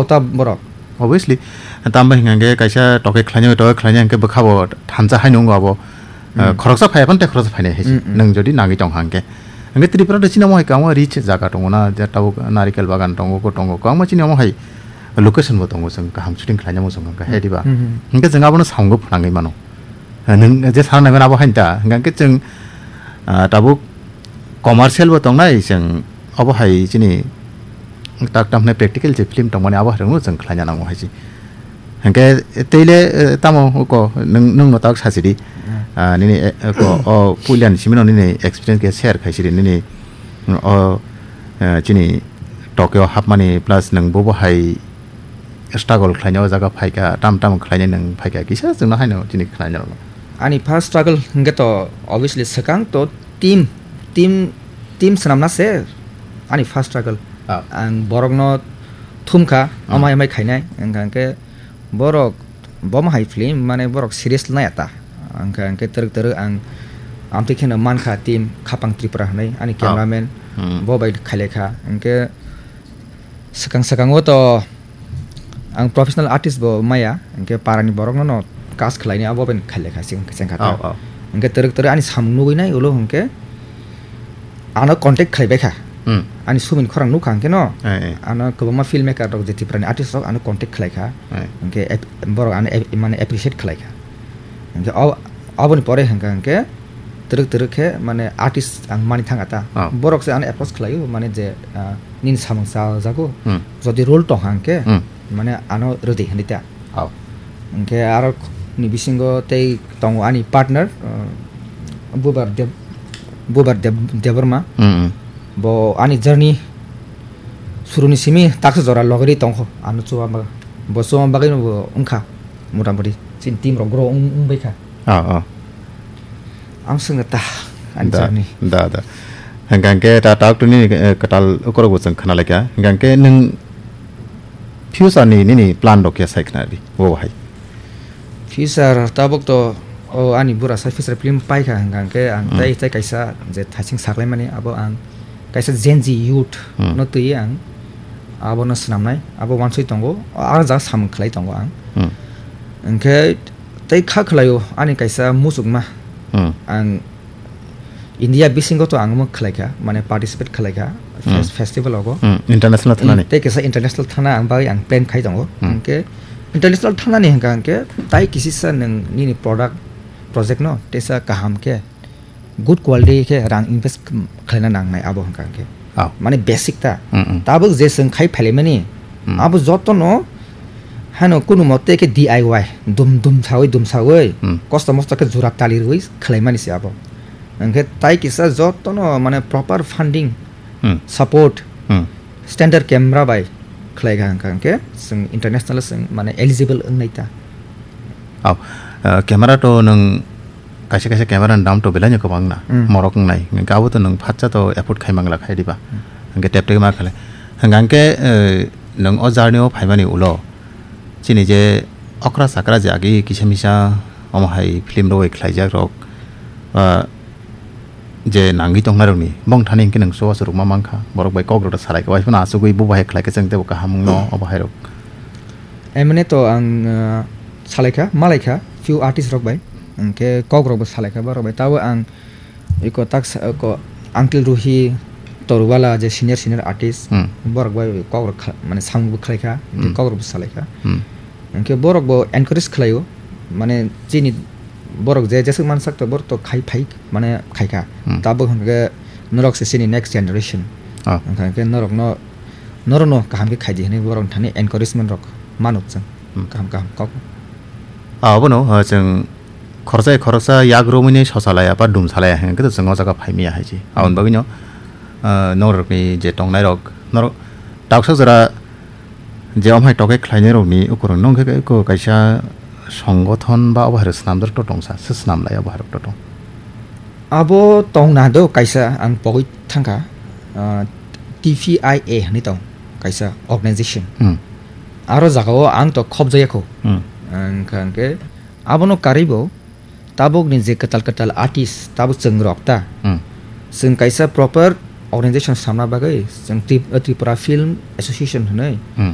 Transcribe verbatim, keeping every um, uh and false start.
ta borok. Obviously, tamo hingkha hingke kaisa toke khlainai, toke khlainai hingke bwkha bo thansa hai nungo abo. Ah, Hmm. khoroksa phai aphano tei khoroksa phainai hai se. Hmm, hmm. Nwng jodi nangwi tong hangke. Hingke Tripura de chini omo hai kwbangma rich jaga tongo na, je tabuk narikel bagan tongo, ko tongo, kwbangma chini omo hai location bo tongo, chwng kaham shooting khlainai mo chwng hingke hai Hmm. diba. Hmm, hmm. Hingke chwng abono samung bo phnangwi mano. Ah, nwng je sana naiman abo hai ta, hingke chwng, ah, tabuk commercial bo tongnai, chwng obo hai chini tak tam hwnwi practical je film tongmani abo hai rokno chwng khlaina nango hai se. Hingke tei le, eh, tamo uko nwng, nwng no tak sachidi. Hmm. Ah, nini, eh, uko, o puila ni simi no nini experience khe share khai sidi nini, mm, o, eh, chini Tokyo hapmani plus nwng bobo hai struggle khlaina o jaga phaikha, tam tam khlaina nwng phaikha, kisa chwngno haino chini khlaina rokno. Ani first struggle hingke to obviously swkang to team, team, team swnamna se ani first struggle. Ah. Ang borokno thumkha, Hmm. amai amai khainai, hingkha hingke borok bomo hai film, mane borok serious nai ata. Hingkha hingke twrwk twrwk ang amtwi kheno mankha team Khapang Tripura hwnwi, ani Ah. cameraman Hmm. bo bai khailekha. Hingke swkang swkango to ang professional artist bo maya, hingke parani borokno no cast khlaini abo bai khailekha cheng-, chengkha ta. Oh, oh. Hingke twrwk twrwk ani samung nugwi nai ulo hingke ano contact khlaibaikha. Hmm. Ani sumin khorang nukha hingke no. Eh, eh. Ano kwbangma filmmaker rok je Tripurani artist rok ano contact khlaikha. Eh. Hingke ap-, borok ano ap-, mane appreciate khlaikha. Hingke o-, aboni pore hingkha hingke twrwk twrwk khe mane artist ang mani thang ata. Oh. Borok se ano approach khlaio mane je, ah, nini samung chajago. Hmm. Jodi role tong hangke Hmm. mane ano rwdi hinwi ta. Oh. Hingke aro ni bisingo tei tongo ani partner, uh, Bubar Deb-, Bubar Deb-, Debbarma. Hmm, hmm. Bo ani journey suruni simi taksa jora logeri tongkho ano chuba bagwi. Bo chuba bagwi no bo wngkha motamoti chini team rok grow wng, wngbaikha. Oh, oh. Ang swngna ta, ani Da, journey. Da, da. Hingkha hingke ta, ta, tini, eh, kwtal ukorok bo chwng khna laikha. Hingkha hingke nwng future ni nini plan rok khe sai khna di, bo hai. Future tabuk to, o, ani bura sa future film paikha hingkha hingke ang Hmm. tei, tei kaisa je thaising saklaimani abo ang kaisa Gen Z youth Hmm. no twi ang abono swnamnai, abo wansoi tongo, o, ang ja samung khlai tongo ang. Hmm. Hingke tei kha khlaio ani kaisa muchukma. Hmm. Ang India bisingo to ang omo khlaikha, mane participate khlaikha, fes-, Hmm. festival ogo. Hmm. International Hmm, thanani. Tei kisa international thana ang bagwi ang plan khai tongo. Hmm. Hingke international thanani hingka hingke tai kisisa nwng nini product, project no teisa kaham khe, good quality khe rang invest khlaina nangnai abo hingka hingke. Oh. Mane basic ta. Hmm, hmm. Tabuk je chwng khai phalimani, Hmm. abo jotono hano kunu mote khe D I Y, dum dum sawi, dum sawi, Hmm. kosto mosto khe jura tali rwi khlaimani se abo. Hingkhe tai kisa jotono mane proper funding, Hmm. support, Hmm. standard camera bai khlai kha hingkha hingkhe chwng international chwng mane eligible wngnai ta. Oh, eh, camera to nwng kaisa kaisa camera ni dam to belai no kwbang na, Hmm. morok wngnai. Hingkhe abo to nwng phatsa to afford khai mangla khai diba. Hmm. Hingkhe tep tep ma khlai. Hingkha hingkhe, eh, nwng o journey o phaimani ulo chini je okra chakra je agi kisa misa omo hai film rok bai khlaijak rok, ah, je nangwi tongnairokni bong thani hingke nwng chubachu rwkma mankha, borok bai kok rok salaikha, bai phano achugwi bo bahai khlaikhe chwng teibo kaham wngno obo hairok. Emne to ang, ah, salaikha, malaikha, few artist rok bai, hingke kok rokbo salaikha borok bai, tabo ang iko taksa, iko Uncle Ruhi Torwala je senior, senior artist, Hmm. borok bai kok rok kha-, mane samung bo khlaikha, hingke Hmm. kok rokbo salaikha. Hmm. Hingke borok bo encourage khlaio, mane chini borok je jeswk mansak to borok to khai phai mane khaikha. Hmm. Tabuk hingke norok se chini next generation. Ah. Hingke norokno, norokno kaham khe khaidi hinwi borok thani encouragement rok mano chwng. Hmm. Kaham kaham kok. Ah, obono, ah, chwng khoroksa khoroksa yak romwi ni sosa laya ba dum salaya hingke to chwng o jaga phaimiya hai se. Aboni bagwino, ah, norokni je tongnairok, norok taksa jora je omo hai tokhe khlainairokni ukurung nung khe ko kaisa songothon ba obo hai rok swnamjak to tongsa, se swnam lai obo hai rok to tong. Abo tongna do kaisa ang pogwi thangkha, ah, T P I A hinwi tong kaisa organization. Hmm. Aro jagao ang to khobjaya kho. Hmm. Ang kha hingke abono karwi bo tabukni je kwtal kwtal artist, tabuk chwng rok ta. Hmm. Chwng kaisa proper organization samna bagwi chwng Trip-, Tripura Film Association hwnwi Hmm.